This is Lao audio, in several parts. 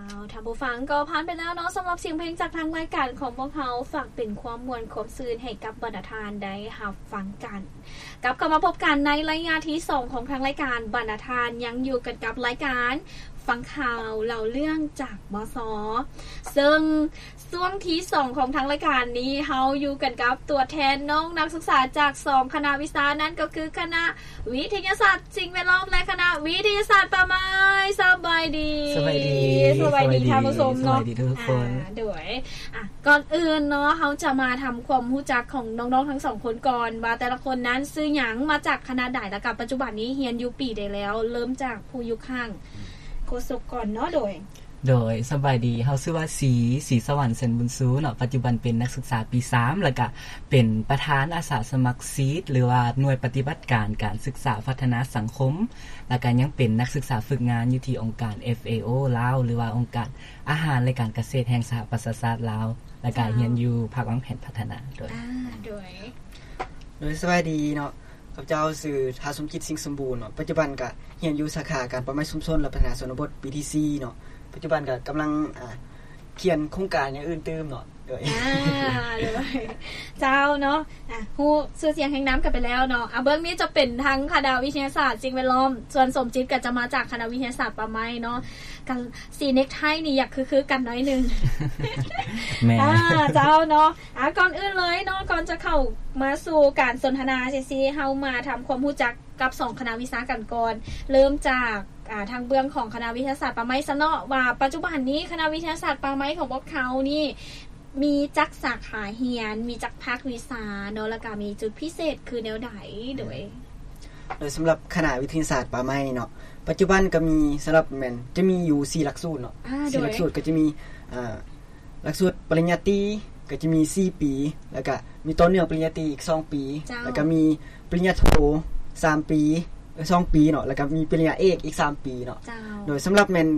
ເອົາ ທ່ານຜູ້ຟັງ ກໍຜ່ານໄປແລ້ວເນາະ ສຳລັບສຽງເພງຈາກທາງລາຍການຂອງພວກເຮົາ ຝາກເປັນຄວາມມ່ວນຄວາມຊື່ນໃຫ້ກັບບັນດາທ່ານໄດ້ຮັບຟັງກັນ. ກັບເຂົ້າມາພົບກັນໃນໄລຍະທີສອງຂອງທາງລາຍການ, ບັນດາທ່ານຍັງຢູ່ກັນກັບລາຍການຟັງຂ່າວເລົ່າເລື່ອງຈາກ ມສ ເຊິ່ງຊ່ວງທີສອງຂອງທາງລາຍການນີ້ ເຮົາຢູ່ກັນກັບຕົວແທນນ້ອງນັກສຶກສາຈາກສອງຄະນະວິຊາ, ນັ້ນກໍຄືຄະນະ ວິທະຍາສາດສິ່ງແວດລ້ອມ ແລະ ຄະນະວິທະຍາສາດປ່າໄມ້. ສະບາຍດີ. ສະບາຍດີ. ສະບາຍດີ ສະບາຍດີ ທ່ານຜູ້ຊົມເນາະ. ສະບາຍດີທຸກໆຄົນ. ອ່າ ໂດຍ ອ່ະ ກ່ອນອື່ນເນາະ ເຮົາຈະມາທຳຄວາມຮູ້ຈັກຂອງນ້ອງໆທັງສອງຄົນກ່ອນ ວ່າແຕ່ລະຄົນນັ້ນຊື່ຫຍັງ ມາຈາກຄະນະໃດ ແລ້ວກະປັດຈຸບັນນີ້ຮຽນຢູ່ປີໃດແລ້ວ? ເລີ່ມຈາກຜູ້ຢູ່ຂ້າງໂຄສົກກ່ອນເນາະ. ໂດຍ ໂດຍ ສະບາຍດີ ເຮົາຊື່ວ່າ ສີ ສີສະຫວັນ ແສນບຸນຊູເນາະ, ປັດຈຸບັນເປັນນັກສຶກສາປີສາມ ແລ້ວກະເປັນປະທານອາສາສະໝັກ ຊີດ ຫຼືວ່າໜ່ວຍປະຕິບັດການການສຶກສາພັດທະນາສັງຄົມ, ແລ້ວກະຍັງເປັນນັກສຶກສາຝຶກງານຢູ່ທີ່ອົງການ ເອັຟເອໂອ ລາວ ຫຼືວ່າອົງການອາຫານ ແລະ ການກະເສດແຫ່ງສະຫະປະຊາຊາດລາວ, ແລ້ວກະ ເຈົ້າ ຮຽນຢູ່ພາກວາງແຜນພັດທະນາ. ໂດຍ ອ່າ ໂດຍ ໂດຍ ສະບາຍດີເນາະ. ຂ້າພະເຈົ້າຊື່ ທ້າວ ສົມຈິດ ສິງສົມບູນເນາະ, ປັດຈຸບັນກະຮຽນຢູ່ສາຂາການປ່າໄມ້ຊຸມຊົນ ແລະ ພັດທະນາຊົນນະບົດປີທີສີ່ເນາະ, ປັດຈຸບັນກະກຳລັງ ອ່າ ຂຽນໂຄງການຢ່າງອື່ນຕື່ມເນາະ. ໂດຍ ອ່າ ໂດຍ ເຈົ້າເນາະ ອ່າ ຮູ້ຊື່ສຽງຮຽງນາມກັນໄປແລ້ວເນາະ. ອ່າ ເບື້ອງນີ້ຈະເປັນທາງຄະນະວິທະຍາສາດສິ່ງແວດລ້ອມ, ສ່ວນສົມຈິດກະຈະມາຈາກຄະນະວິທະຍາສາດປ່າໄມ້ເນາະ. ກະສີເນັກໄທນີ້ຢາກຄືໆກັນໜ້ອຍໜຶ່ງ. ແມ່ນ ອ່າ ເຈົ້າເນາະ. ອ່າ ກ່ອນອື່ນເລີຍເນາະ ກ່ອນຈະເຂົ້າມາສູ່ການສົນທະນາຊີ້ໆ ເຮົາມາທຳຄວາມຮູ້ຈັກກັບສອງຄະນະວິຊາກັນກ່ອນ. ເລີ່ມຈາກ ອ່າ ທາງເບື້ອງຂອງຄະນະວິທະຍາສາດປ່າໄມ້ຊະເນາະ ວ່າປັດຈຸບັນນີ້ຄະນະວິທະຍາສາດປ່າໄມ້ຂອງພວກເຮົານີ້ ມີຈັກສາຂາຮຽນ, ມີຈັກພາກວິຊາເນາະ ແລ້ວກະມີຈຸດພິເສດຄືແນວໃດ? ໂດຍ ໂດຍ ສຳລັບຄະນະວິທະຍາສາດປ່າໄມ້ເນາະ ປັດຈຸບັນກະມີ ສຳລັບແມ່ນຈະມີຢູ່ສີ່ຫຼັກສູດເນາະ. ອ່າ ສີ່ ໂດຍ ຫຼັກສູດກະຈະມີ ອ່າ ຫຼັກສູດປະລິນຍາຕີກະຈະມີສີ່ປີ, ແລ້ວກະມີຕໍ່ເນື່ອງປະລິນຍາຕີອີກສອງປີ, ເຈົ້າ ແລ້ວກະມີປະລິນຍາໂທສາມປີ ເອີ ສອງປີເນາະ, ແລ້ວກະມີປະລິນຍາເອກອີກສາມປີເນາະ. ເຈົ້າ ໂດຍ ສຳລັບແມ່ນ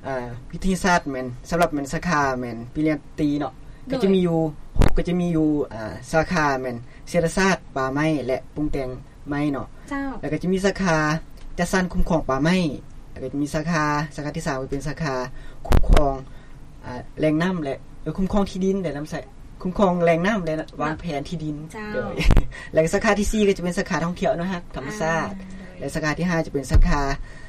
ອ່າ ວິທະຍາສາດແມ່ນ ສຳລັບແມ່ນສາຂາແມ່ນປະລິນຍາຕີເນາະ ໂດຍ ກະຈະມີຢູ່ ກະຈະມີຢູ່ ອ່າ ສາຂາແມ່ນເສດຖະສາດປ່າໄມ້ ແລະ ປຸງແຕ່ງໄມ້ເນາະ. ເຈົ້າ ແລ້ວກະຈະມີສາຂາຈັດສັນຄຸ້ມຄອງປ່າໄມ້, ແລ້ວກະຈະມີສາຂາ ສາຂາທີສາມກະເປັນສາຂາຄຸ້ມຄອງ ອ່າ ແຫຼ່ງນ້ຳ ແລະ ເອີ ຄຸ້ມຄອງທີ່ດິນ ແລະ ນ້ຳໃຊ້ ຄຸ້ມຄອງແຫຼ່ງນ້ຳ ແລະ ວາງແຜນທີ່ດິນ. ເຈົ້າ ໂດຍ ແລະ ສາຂາທີສີ່ກະຈະເປັນສາຂາທ່ອງທ່ຽວອະນຸຮັກທຳມະຊາດ. ອ່າ ໂດຍ ແລະ ສາຂາທີຫ້າຈະເປັນສາຂາ